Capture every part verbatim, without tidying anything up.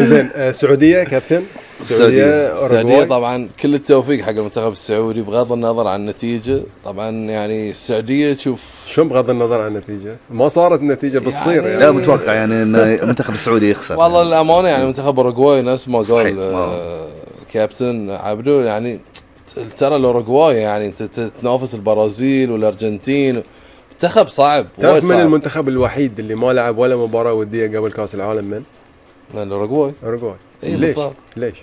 زين السعوديه كابتن. السعوديه السعوديه طبعا كل التوفيق حق المنتخب السعودي بغض النظر عن النتيجه. طبعا يعني السعوديه تشوف شو بغض النظر عن النتيجه ما صارت النتيجه بتصير يعني, يعني لا متوقع يعني ان المنتخب السعودي يخسر. والله الامانه يعني منتخب اوروغواي نفس ما قال الكابتن عبدو يعني ترى الاوروغواي يعني انت تنافس البرازيل والارجنتين منتخب صعب. تعرف من المنتخب الوحيد اللي ما لعب ولا مباراه وديه قبل كاس العالم؟ من الاوروغواي. اوروغواي إيه ليش بالضبط. ليش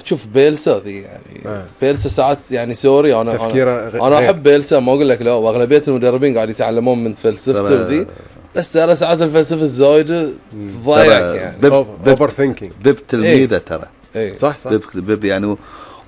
تشوف بيلسا ذي يعني آه. بيلسا ساعات يعني سوري انا تفكيره انا, أنا احب بيلسا ما اقول لك لا واغلبيه المدربين قاعد يتعلمون من فلسفته ذي بس ترى ساعات الفلسفه الزايده تضايقك يعني بيب اوفر ثينكينج. بيب تلميذه ترى ايه صح صح بيب, بيب يعني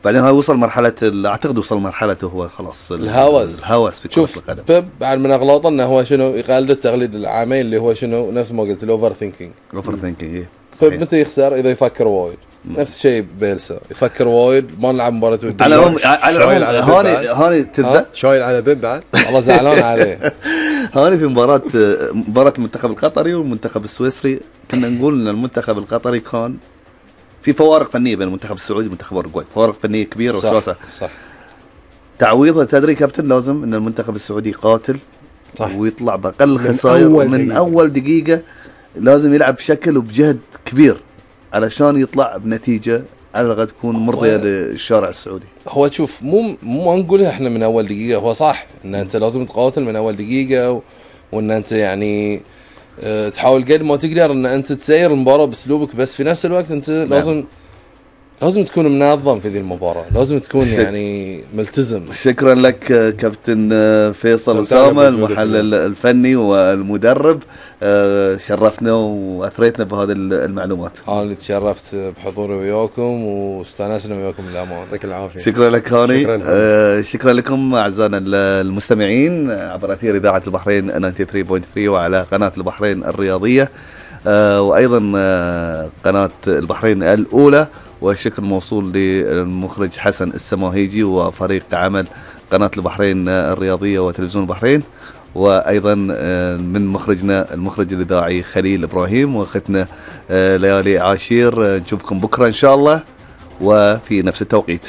بعدين هاي وصل مرحله اعتقد وصل مرحلته هو خلاص الهوس الهوس في كرة القدم. بيب بعد من اغلاطه انه هو شنو يقلد التقليد العامين اللي هو شنو نفس ما قلت الاوفر ثينكينج. اوفر ثينكينج ايه بيب متى يخسر؟ اذا يفكر وايد. نفس الشيء بيلسا يفكر وايد ما نلعب مباراه وديه. على العموم على العموم هاني هاني تبدا شايل على بيب بعد والله زعلان عليه. هاني في مباراه مباراه المنتخب القطري والمنتخب السويسري كنا نقول ان المنتخب القطري كان في فوارق فنيه بين المنتخب السعودي والمنتخب الاوروغواي فوارق فنيه كبيره وشاسعه. صح تعويضها تدري كابتن لازم ان المنتخب السعودي يقاتل صح. ويطلع باقل خسائر من, من اول دقيقه لازم يلعب بشكل وبجهد كبير علشان يطلع بنتيجه على الاقل تكون مرضيه للشارع السعودي. هو شوف مو مو نقولها احنا من اول دقيقه. هو صح ان انت لازم تقاتل من اول دقيقه و... وان انت يعني اه تحاول قد ما تقدر ان انت تسير المباراه باسلوبك بس في نفس الوقت انت نعم. لازم لازم تكون منظم في ذي المباراه. لازم تكون شك... يعني ملتزم. شكرا لك كابتن فيصل أسامة المحلل الفني والمدرب. شرفتنا واثريتنا بهذه المعلومات. انا اللي تشرفت بحضوري وياكم واستانسنا وياكم للامانه. يعطيك العافيه. شكرا لك هاني. شكرا, آه شكرا لكم اعزائنا المستمعين عبر اثير اذاعه البحرين ثمانية وتسعين فاصلة ثلاثة وعلى قناه البحرين الرياضيه آه وايضا آه قناه البحرين الاولى. والشكر موصول للمخرج حسن السماهيجي وفريق عمل قناه البحرين الرياضيه وتلفزيون البحرين. وايضا من مخرجنا المخرج الاذاعي خليل ابراهيم واختنا ليالي عاشير. نشوفكم بكره ان شاء الله وفي نفس التوقيت.